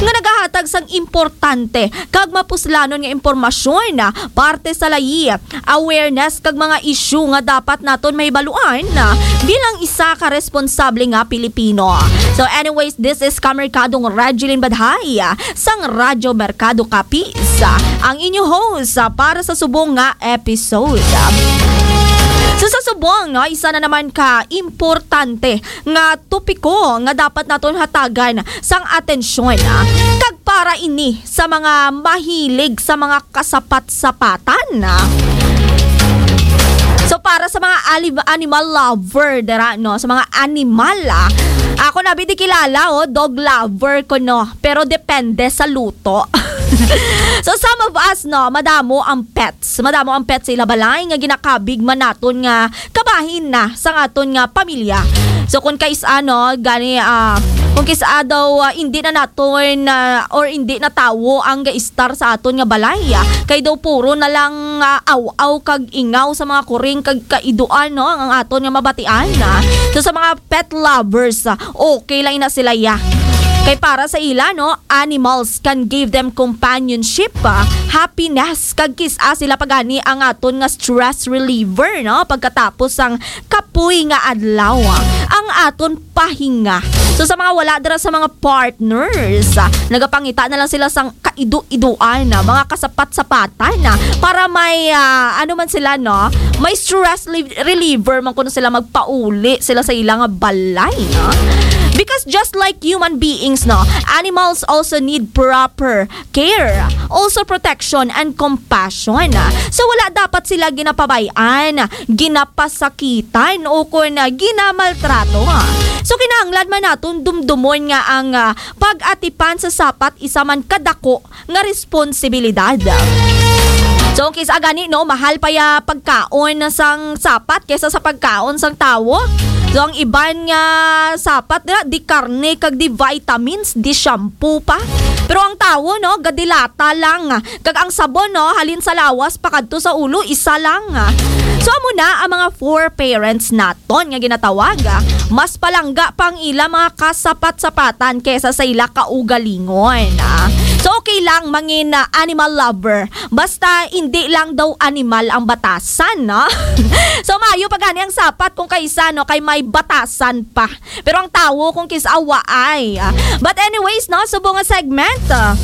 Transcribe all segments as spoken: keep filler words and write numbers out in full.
nga nagahatag sang importante kag mapuslanon nga impormasyon, parte sa layi, awareness kag mga issue nga dapat naton mahibaluan bilang isa ka responsable nga Pilipino. So anyways, this is Kamerkadong Regeline Badhay sang Radyo Merkado Capiz, ang inyo host para sa subong nga episode. So sa subong, no, isa na naman ka importante nga topiko nga dapat naton hatagan sang atensyon, ah, kag para ini sa mga mahilig sa mga kasapat-sapatan, ah. So, para sa mga ali-, animal lover dira, no, sa mga animal, ah, ako na bidi kilala, oh, dog lover ko, no, pero depende sa luto. So, some of us, no, madamo ang pets. Madamo ang pets sa ila balay nga ginakabig man naton nga kabahin na sang aton nga pamilya. So kung kais-a, no, gani, ah, kung kis-a daw, ah, hindi na naton, ah, or hindi na tawo ang gaistar sa aton nga balay, ah, kay daw puro na lang, ah, aw-aw kag ingaw sa mga kuring kag kaiduan, no, ang aton nga mabatian, ah. So sa mga pet lovers, ah, okay lang na sila, ya. Kay para sa ila, no, animals can give them companionship, ah, happiness, kag kis-a sila pa gani ang aton nga stress reliever, no, pagkatapos sang kapoy nga adlaw, ang aton pahinga. So sa mga wala dira sa mga partners, ah, nagapangita na lang sila sang kaido-idoan, ah, mga kasapat-sapatan, ah, para may, ah, ano man sila, no, may stress li-, reliever man kuno sila, magpauli sila sa ilang balay, no? Because just like human beings, no, animals also need proper care, also protection and compassion. So wala dapat sila ginapabay-an, ginapasakitan o kon, ah, ginamaltrato. So kinahanglan man naton dumdumon nga ang, ah, pag-atipan sa sapat isa man kadako nga responsibilidad. So kis-a gani, no, mahal pa ya pagkaon sang sapat kaysa sa pagkaon sang tawo. So ang iban nga sapat na di karne kag di vitamins, di shampoo pa. Pero ang tawo, no, gadilata lang. Kag ang sabon, no, halin sa lawas pakadto sa ulo, isa lang. So amo na ang mga four parents naton nga ginatawag. Mas palangga pa ang ila mga kasapat-sapatan kaysa sa ila kaugalingon. So okay lang mangin, ah, animal lover, basta hindi lang daw animal ang batasan, no? So maayo pa gani ang sapat kung kaysa, no, kay may batasan pa. Pero ang tawo kung kis-a waay. But anyways, no, subong nga segment, ah,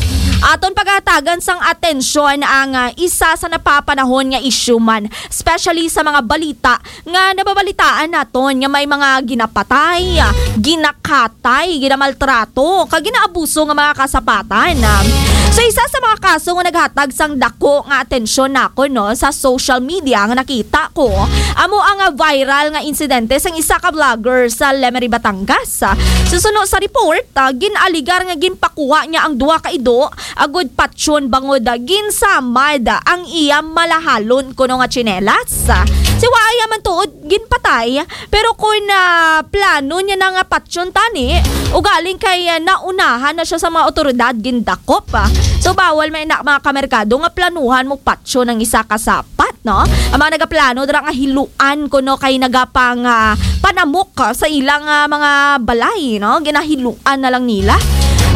aton pagatagan sang atensyon ang, ah, isa sa napapanahon nga issue man, especially sa mga balita nga nababalitaan naton nga may mga ginapatay, ginakatay, ginamaltrato, kag ginaabuso nga mga kasapatan. So isa sa mga kaso nga naghatag sang dako nga atensyon nakon, no, sa social media nga nakita ko, amo ang, ah, viral nga insidente sang isa ka vlogger sa Lemery, Batangas. Susuno sa report, ah, gin-aligar nga ginpakuha niya ang duha ka ido agud patyon bangod, ah, ginsamad ang iya malahalon kuno nga tsinelas. Si waay man tuod ginpatay, pero kon, ah, plano niya na nga patyon tani, ugaling kay, ah, naunahan na siya sa mga awtoridad gindakop, ah. So bawal man ina, mga kamerkado, nga planuhan mo patyon ang isa ka sapat, no? Ang mga nagaplano dira nga hiluan kuno kay nagapang, ah, panamok, ah, sa ilang, ah, mga balay, no? Ginahiluan na lang nila.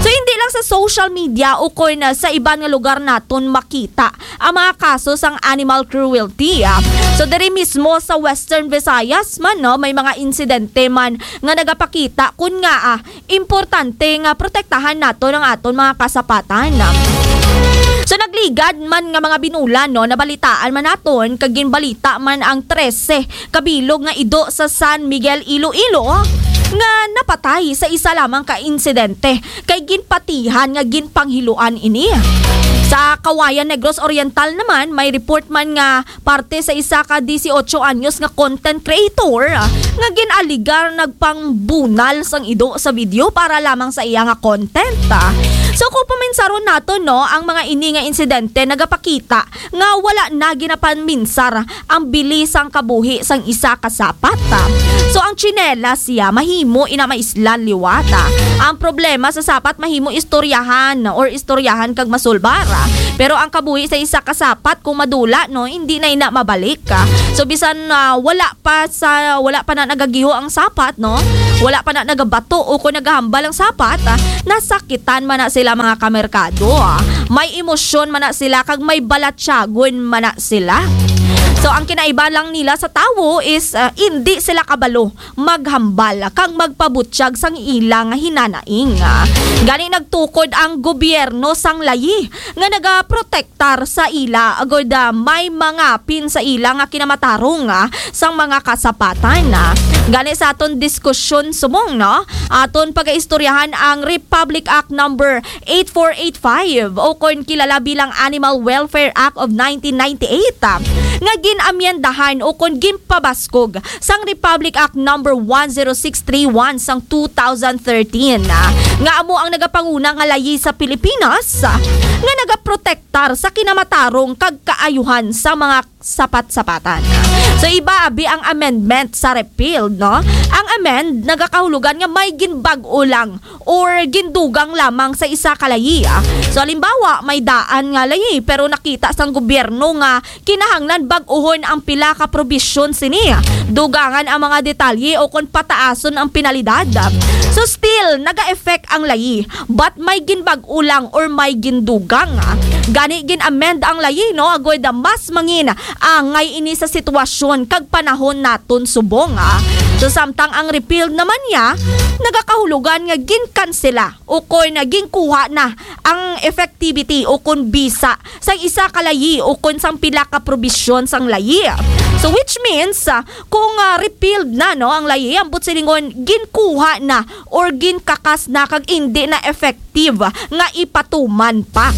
So hindi lang sa social media o kon, ah, sa iban nga lugar naton makita ang mga kaso sang animal cruelty, ah. So diri mismo sa Western Visayas man, no, may mga insidente man nga nagapakita kun ngaa importante nga protektahan naton ang aton mga kasapatan. So nagligad man nga mga binulan, no, nabalitaan man naton kag ginbalita man ang trese kabilog nga ido sa San Miguel, Iloilo nga napatay sa isa lamang ka insidente kay ginpatihan nga ginpanghiluan ini. Sa Kawayan, Negros Oriental naman, may report man nga parte sa isa ka dieciocho anyos nga content creator, ah, nga gin-aligar nagpangbunal sang ido sa video para lamang sa iya nga content, ah. So, kung paminsaron nato, no, ang mga ini nga insidente nagapakita nga wala na ginapanminsar ang bili sang kabuhi sang isa ka sapat, ah. So, ang tsinelas siya mahimo ina maislan liwat, ah. Ang problema sa sapat mahimo istoryahan or istoryahan kag masulbar, ah. Pero ang kabuhi sa isa ka sapat kung madula, no, hindi na ina mabalik, ah. So bisan, ah, wala pa sa, wala pa na nagagiho ang sapat, no, wala pa na nagabato o kung nagahambal ang sapat, ah, nasakitan man na sila, mga kamerkado, ah. May emosyon man na sila kag may balatyagon man na sila. So, ang kinaiba lang nila sa tawo is, ah, indi sila kabalo maghambal kag magpabutyag sang ila nga hinanaing. Gani nagtukod ang gobyerno sang layi nga nagaprotektar sa ila, agod, ah, may mangapin sa ila nga kinamatarong, ah, sang mga kasapatan, ah. Gani sa aton diskusyon subong, no, aton pagaistoryahan ang Republic Act Number eight four eight five, o kon kilala bilang Animal Welfare Act of nineteen ninety-eight, ah, nga gin-amyendahan o kon ginpabaskog sang Republic Act Number one zero six three one sang two thousand thirteen, ah, nga amo ang nagapanguna nga layi sa Pilipinas, ah, nga nagaprotektar sa kinamatarong kag kaayuhan sa mga sapat-sapatan. So, iba abi ang amendment sa repealed, no? Ang amend nagakahulugan nga may ginbag-o lang or gindugang lamang sa isa ka layi, ah. So, halimbawa, may daan nga layi, pero nakita sang gobyerno nga kinahanglan bag-ohon ang pila ka probisyon sini, dugangan ang mga detalye o kon pataason ang penalidad. So, still, naga-effect ang layi, but may ginbag-o lang or may gindugang, ah. Gani, gin-amend ang layi, no, agod mas mangin angay ini sa sitwasyon kag panahon naton subong, ah. So, samtang ang repealed naman niya, nagakahulugan nga ginkansela o kon ginkuha na ang effectivity o kon bisa sang isa ka layi o kon sang pila ka probisyon sang layi. So, which means, ah, kung, ah, repealed na, no, ang layi, ang buot silingon, ginkuha na or ginkakas na kag indi na effective nga ipatuman pa.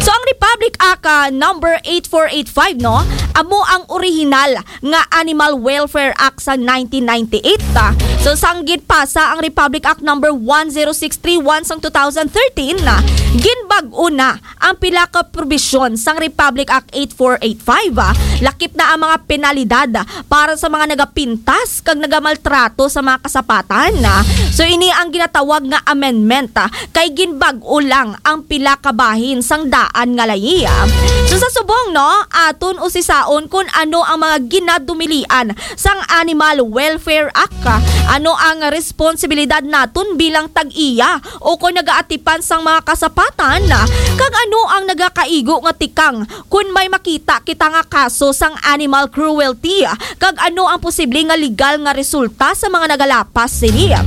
So, ang Republic Act, ah, number eight four eight five, no, amo ang original nga Animal Welfare Act sa nineteen ninety-eight, ah. So, sang ginpasa ang Republic Act number one zero six three one sang two thousand thirteen, ah, ginbag-o na ang pila ka probisyon sang Republic Act eight four eight five, ah. Lakip na ang mga penalidad para sa mga nagapintas kag nagamaltrato sa mga kasapatan, ah. So, ini ang ginatawag nga amendment, ah, kay ginbag-o lang ang pila ka bahin sang daan nga layi, ah. So, sa subong, no, aton usisaon kun ano ang mga ginadumilian sang Animal Welfare Act, ah. Ano ang responsibilidad naton bilang tag-iya o kon nagaatipan sang mga kasapatan, ah? Kag ano ang nagakaigo nga tikang kon may makita kita nga kaso sang animal cruelty, ah? Kag ano ang posible nga legal nga resulta sa mga nagalapas sini?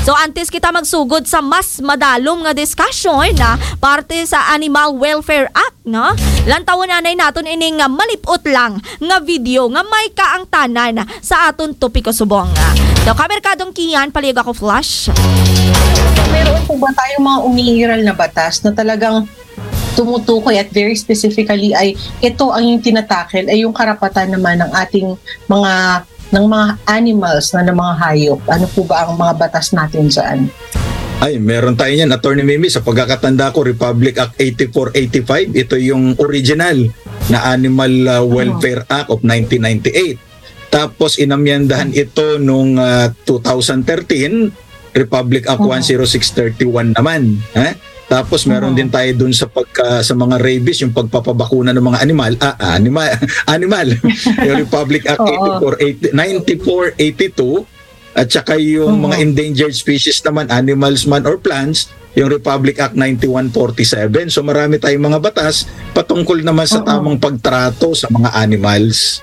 So, antes kita magsugod sa mas madalom nga discussion, ah, parte sa Animal Welfare Act, no? Lantawon anay naton ining, ah, malip-ot lang nga video nga may kaangtanan sa aton topiko subong. So, kamerkadong Kian, palihog ako, Flash. Meron po ba tayong mga umiiral na batas na talagang tumutukoy at very specifically ay ito ang yung tinatakil, ay yung karapatan naman ng ating mga, ng mga animals na, ng mga hayop? Ano po ba ang mga batas natin dyan? Ay, meron tayo niyan, Attorney Mimi. Sa pagkakatanda ko, Republic Act eighty-four eighty-five, ito yung original na Animal, uh, Welfare Act of nineteen ninety-eight. Tapos inamyendahan ito nung, uh, two thousand thirteen, Republic Act one zero six thirty-one naman. Eh? Tapos meron din tayo dun sa pagka, sa mga rabies, yung pagpapabakuna ng mga animal, ah, ah, animal, animal. Yung Republic Act eighty-four eighty, ninety-four eighty-two, at saka yung mga endangered species naman, animals man or plants, yung Republic Act ninety-one forty-seven. So marami tayong mga batas patungkol naman sa tamang pagtrato sa mga animals.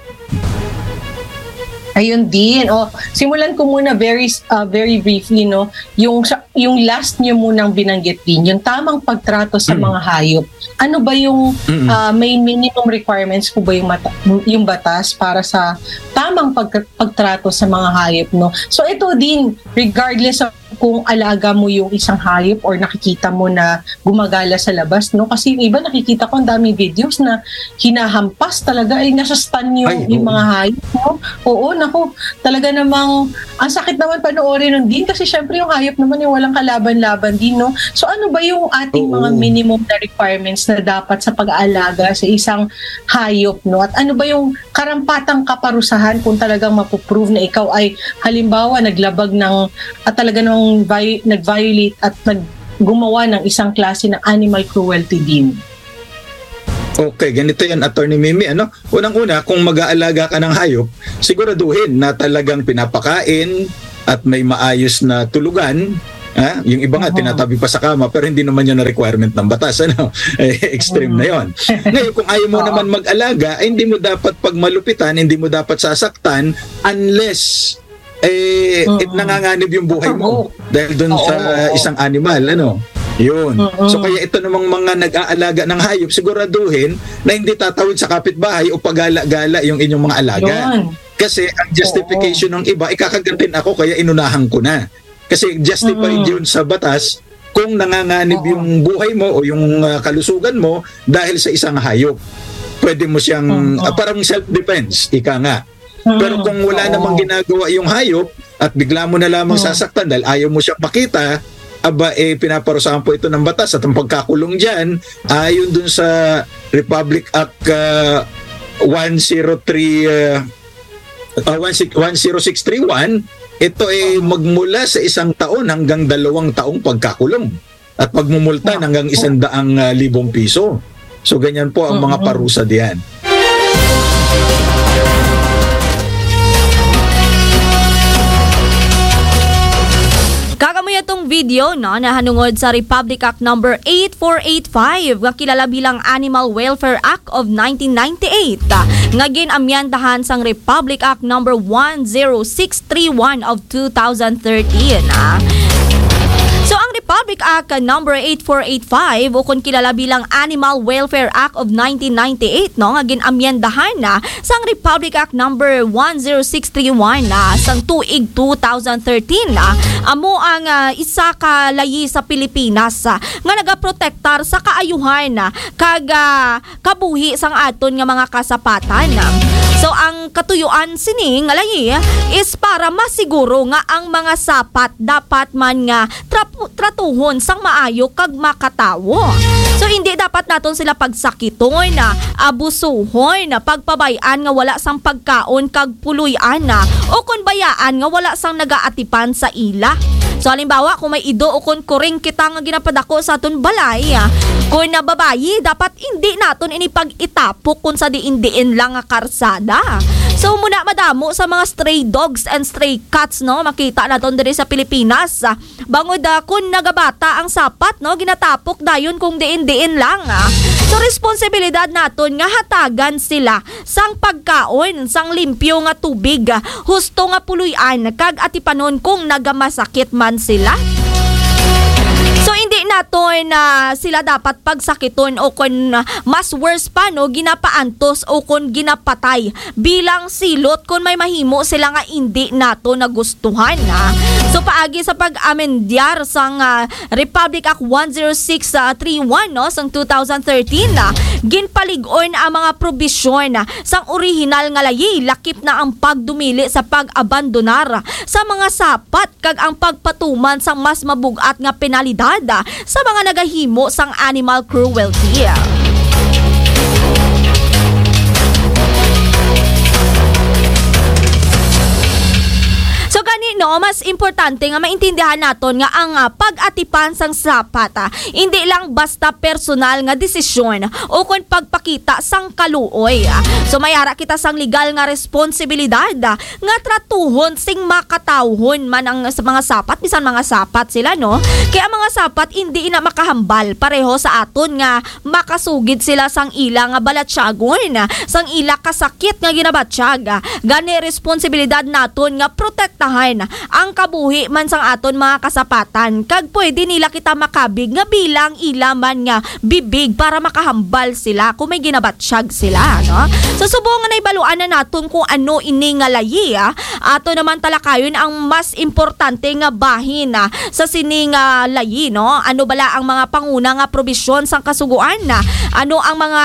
Ayun din. Oh, simulan ko muna very, uh, very briefly, no. Yung sa, yung last niyo munang binanggit din, yung tamang pagtrato sa mga hayop. Ano ba yung, uh, may minimum requirements po ba yung mata, yung batas para sa tamang pag, pagtrato sa mga hayop, no? So ito din, regardless of kung alaga mo yung isang hayop or nakikita mo na gumagala sa labas, no? Kasi yung iba, nakikita ko ang daming videos na hinahampas talaga, ay nasastan yung, yung mga hayop, no? Oo, naku, talaga namang ang sakit naman panoorin nun din kasi syempre yung hayop naman yung walang kalaban-laban din, no? So ano ba yung ating mga minimum na requirements na dapat sa pag-aalaga sa isang hayop, no? At ano ba yung karampatang kaparusahan kung talagang mapuprove na ikaw ay halimbawa naglabag ng at talaga nang vi- nag-violate at nag gumawa ng isang klase ng animal cruelty din? Okay, ganito yan, Attorney Mimi, ano? Unang-una, kung mag-aalaga ka ng hayop, siguraduhin na talagang pinapakain, at may maayos na tulugan, ha? Yung iba nga, Oo. tinatabi pa sa kama, pero hindi naman yun ang requirement ng batas, ano? Eh, extreme na Mm. yon. Ngayon, kung ayaw mo Oo. naman mag-alaga, ay hindi mo dapat pagmalupitan, hindi mo dapat sasaktan unless, eh, Oo. it nanganganib yung buhay mo Tama. dahil dun Oo, sa oo. isang animal, ano? Yun. Oo. So, kaya ito namang mga nag-aalaga ng hayop, siguraduhin na hindi tatawid sa kapitbahay o pagala-gala yung inyong mga alaga. Yun. Kasi ang justification Oo. ng iba, ikakagat din ako, kaya inunahan ko na. Kasi justified Mm-mm. yun sa batas kung nanganganib Oo. yung buhay mo o yung, ah, kalusugan mo dahil sa isang hayop. Pwede mo siyang, Mm-mm. ah, parang self-defense, ika nga. Pero Mm-mm. kung wala Oo. namang ginagawa yung hayop at bigla mo na lamang Mm. sasaktan dahil ayaw mo siyang makita, aba, eh, pinaparusahan po ito ng batas at ang pagkakulong dyan, ayon dun sa Republic Act, ah, one zero three, ah, ah, one six, one zero six three one, ito ay Oo. magmula sa isang taon hanggang dalawang taong pagkakulong at pagmumulta Oo. hanggang isang daang, ah, libong piso. So, ganyan po ang mga Mm-mm. parusa diyan. Kag amo ya tong video, no, nahanungod sa Republic Act Number eight four eight five, nga kilala bilang Animal Welfare Act of nineteen ninety-eight, nga gin-amyendahan sang Republic Act Number one zero six three one of two thousand thirteen, ah. So, ang Republic Act Number eight four eight five, o kon kilala bilang Animal Welfare Act of nineteen ninety-eight, no, nga gin-amyendahan na sang Republic Act Number one zero six three one, ah, sang tuig two thousand thirteen, ah, amo ang, ah, isa ka layi sa Pilipinas, ah, nga nagaprotektar sa kaayuhan, ah, kag, ah, kabuhi sang aton nga mga kasapatan. So, ang katuyuan sini nga layi is para masiguro nga ang mga sapat dapat man nga trapu-, tratuhon sang maayo kag makatawo. So, hindi dapat naton sila pagsakiton, abusuhon, pagpabay-an nga wala sang pagkaon kag puloy-an, o kon bayaan nga wala sang nagaatipan sa ila. So, halimbawa, kung may ido o kon kuring kita nga ginapadako sa aton balay, ah, kon na babayi, dapat hindi naton ini pag-itapok kon sa diin-diin lang nga karsada. So, muna madamo sa mga stray dogs and stray cats, no, makita naton diri sa Pilipinas, ah, bangod, ah, kon nagabata ang sapat, no, ginatapok dayon kung diin-diin lang, ah. So, responsibilidad naton nga hatagan sila sang pagkaon, sang limpyo nga tubig, husto nga puloy-an, kag atipanon kung nagamasakit man sila. So, hindi naton na sila dapat pagsakiton o kon mas worse pa, no, ginapaantos o kon ginapatay bilang silot kon may mahimo sila nga hindi nato nagustuhan, ah. So, paagi sa pag-amendyar sang, ah, Republic Act one zero six three one, no, sang two thousand thirteen, ah, ginpalig-on ang mga probisyon, ah, sang orihinal nga layi, lakip na ang pagdumili sa pag-abandonar sa mga sapat kag ang pagpatuman sang mas mabug-at nga penalidad, ah, sa mga nagahimo sang animal cruelty. So, gani, no, mas importante nga maintindihan naton nga ang, ah, pag-atipan sang sapat, ah, hindi lang basta personal nga desisyon o kon pagpakita sang kaluoy. So, may ara kita sang legal nga responsibilidad, ah, nga tratuhon sing makatawhon man ang sa mga sapat, bisan mga sapat sila, no? Kay ang mga sapat hindi na makahambal pareho sa aton nga makasugid sila sang ila nga balatyagon, sang ila kasakit nga ginabatyag. Gani, responsibilidad naton nga protektahan ang kabuhi man sang aton mga kasapatan, kag pwede nila kita makabig nga bilang ila man nga bibig para makahambal sila kung may ginabatyag sila, no? So, subong nga nahibaluan na naton kung ano ini nga layi, ah, ato naman talakayon ang mas importante nga bahin, ah, sa sini nga layi, no? Ano bala ang mga panguna nga probisyon sang Kasugoan? Ano ang mga,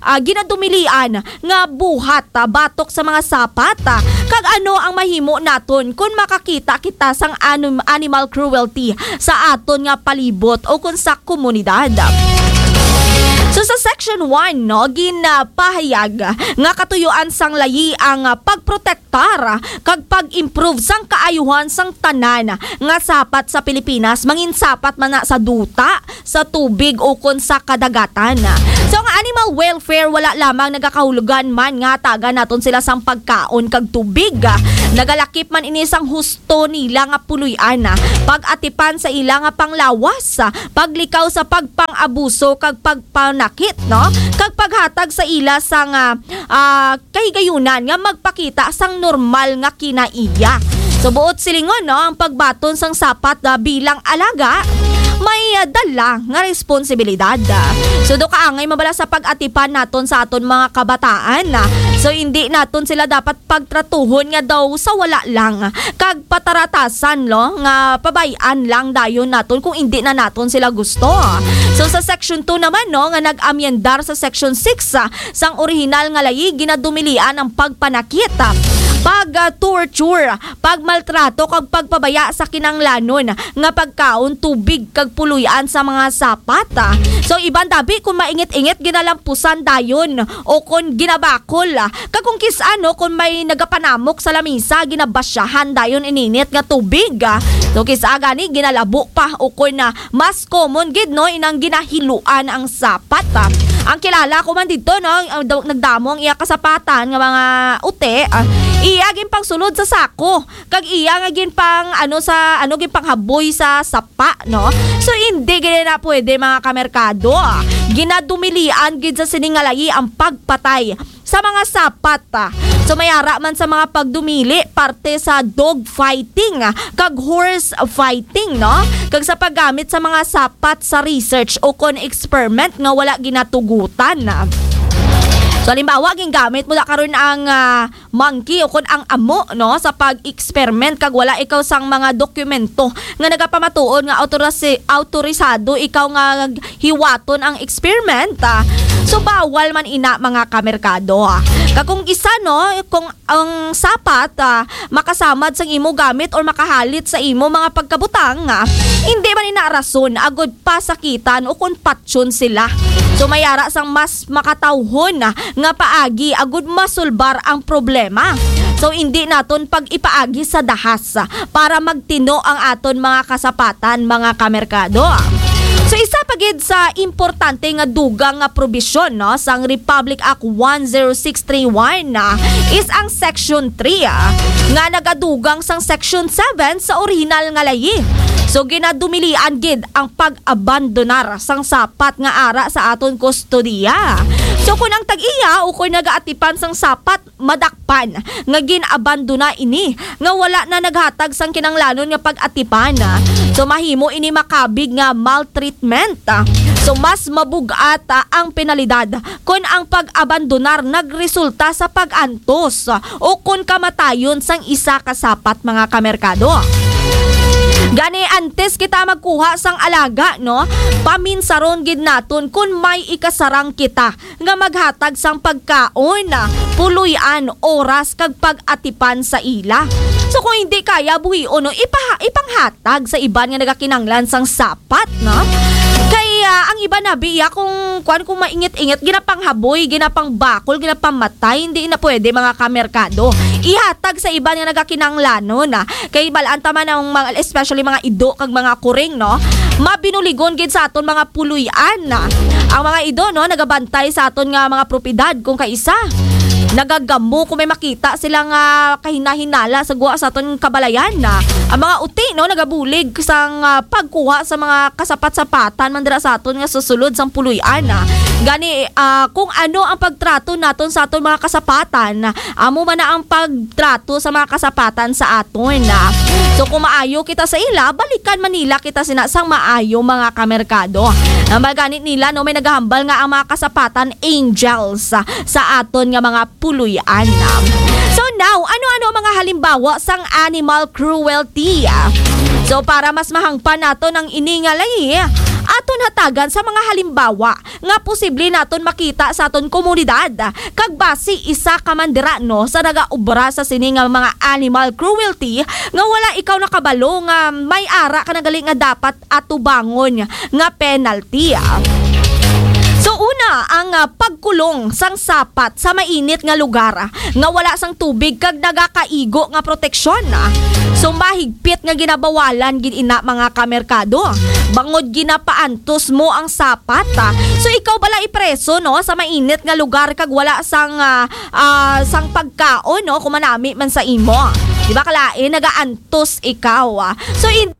ah, ginadumilian nga buhat, ah, batok sa mga sapat, ah, kag ano ang mahimo naton kon makakita kita sang anim-, animal cruelty sa aton nga palibot o kon sa komunidad? So, sa Section one, no, ginapahayag nga katuyuan sang layi ang, ah, pagprotektar kag pag-improve sang kaayuhan sang tanan nga sapat sa Pilipinas, mangin sapat man na sa duta, sa tubig, ukon sa kadagatan. So, ang animal welfare wala lamang nagakahulugan man nga hatagan naton sila sang pagkaon kag tubig, Nagalakip man ini sang husto nila nga puloy-an, ah, pag-atipan sa ila nga panglawas, ah, paglikaw sa pagpang-abuso kag pagpanakit, no? Kag paghatag sa ila sang, ah, ah, kahigayunan nga magpakita sang normal nga kinaiya. So, buot silingon, no, ang pagbaton sang sapat, ah, bilang alaga may, ah, dala nga responsibilidad. So, do kaangay mabala sa pag-atipan naton sa aton mga kabataan, ah. So, hindi naton sila dapat pagtratuhon nga daw sa wala lang, kag pataratasan, no, nga pabay-an lang dayon naton kung indi na naton sila gusto. So, sa Section two naman, no, nga nag-amyendar sa Section six, ah, sang orihinal nga layi, ginadumilian ang pagpanakit, ah, pag, ah, torture, pagmaltrato, kag pagpabaya sa kinanglanon nga pagkaon, tubig, kag puloy-an sa mga sapat, ah. So, iban dabi kung maingit-ingit, ginalampusan dayon o kon ginabakol, ah. Kag kung kis-a, no, kung may nagapanamok sa lamisa, ginabasyahan dayon ininit nga tubig, ah. So, kis-a gani, ginalabo pa o kon, ah, mas common gid, no, inang ginahiluan ang sapat, ah. Ang kilala ko man dito, no, ang daw-, nagdamo ang iya kasapatan nga mga uti, ah, iya ginpangsulod sa sako, kag iya nga ginpang, ano, sa, ano, ginpanghaboy sa sapa, no? So, hindi gid na pwede, mga kamerkado, ah. Ginadumilian gid sa sining nga layi ang pagpatay sa mga sapat, ah. So, may ara man sa mga pagdumili parte sa dog fighting, ah, kag horse fighting, no? Kag sa paggamit sa mga sapat sa research o kon experiment nga wala ginatugutan, ah. So, halimbawa, gingamit mo na karon ang, ah, monkey o kon ang amo, no, sa pag-experiment kag wala ikaw sang mga dokumento nga nagapamatuod nga autorasi-, autorisado ikaw nga hiwaton ang experiment, ah. So, bawal man ina, mga kamerkado, ah. Kag kung isa, no, kung ang sapat, ah, makasamad sang imo gamit or makahalit sa imo mga pagkabutang, ah, hindi man ina rason agud pasakitan o kon patyon sila. So, may ara sang mas makatawhon, ah, nga paagi agud masulbar ang problema. So, hindi naton pag-ipaagi sa dahas, ah, para magtino ang aton mga kasapatan, mga kamerkado. So, isa pa gid sa importante nga dugang nga probisyon, no, sang Republic Act one zero six three one, ah, is ang Section three, ah, nga nagadugang sang Section seven sa orihinal nga layi. So, ginadumilian gid ang pag-abandonar sang sapat nga ara sa aton kustodiya. So, kung ang tag-iya o kung nagaatipan sang sapat madakpan nga gin-abandona ini, nga wala na naghatag sang kinanglanon nga pag-atipan, so mahimo ini makabig nga maltreatment. So, mas mabug-at, ah, ang penalidad kon ang pag-abandonar nagresulta sa pag-antos o kon kamatayon sang isa ka sapat, mga kamerkado. Gani, antes kita magkuha sang alaga, no, paminsaron gid naton kon may ikasarang kita nga maghatag sang pagkaon, puloy-an, oras, kag pag-atipan sa ila. So, kung hindi kaya buhion, no, ipaha-, ipanghatag sa iban nga nagakinanglan sang sapat, no? Kay, ah, ang iban na biya kung, kwan, kung maingit-ingit, ginapanghaboy, ginapangbakol, ginapamatay, hindi na pwede, mga kamerkado. Ihatag sa iban nga nagakinanglanon, ah. Kay balaan ta man ang mga, especially mga ido kag mga kuring, no? Mabinuligon gid sa aton mga puloy-an. Ang mga ido, no, nagabantay sa aton nga mga propiedad kung kaisa. Nagagamo kung may makita sila nga kahinahinala sa gwa sa aton kabalayan. Ang mga uti, no, nagabulig sang, ah, pagkuha sa mga kasapat-sapatan man dira sa aton nga susulod sang puloy-an. Gani, ah, kung ano ang pagtrato naton sa aton mga kasapatan, amo man na ang pagtrato sa mga kasapatan sa aton. So, kung maayo kita sa ila, balikan man nila kita sina sang maayo, mga kamerkado. Ang gani nila, no, may nagahambal nga ang mga kasapatan angels sa aton nga mga puloy-an. So now, ano-ano ang mga halimbawa sang animal cruelty? So, para mas mahangpan naton ang ini nga layi, aton hatagan sa mga halimbawa nga posible naton makita sa aton komunidad, kag basi isa ka man dira, no, sa nagaobra sa sini nga mga animal cruelty nga wala ikaw nakabalo nga may ara ka na gali nga dapat atubangon nga penalty. So, una, ang, ah, pagkulong sang sapat sa mainit nga lugar, ah, nga wala sang tubig kag nagakaigo nga proteksyon, ah. So, mahigpit nga ginabawalan gid ina, mga kamerkado, bangod ginapaantos mo ang sapat, ah. So, ikaw bala ipreso, no, sa mainit nga lugar kag wala sang, ah, ah, sang pagkaon, no, kung manami man sa imo. Di ba kalain, nagaantos ikaw, ah. So, in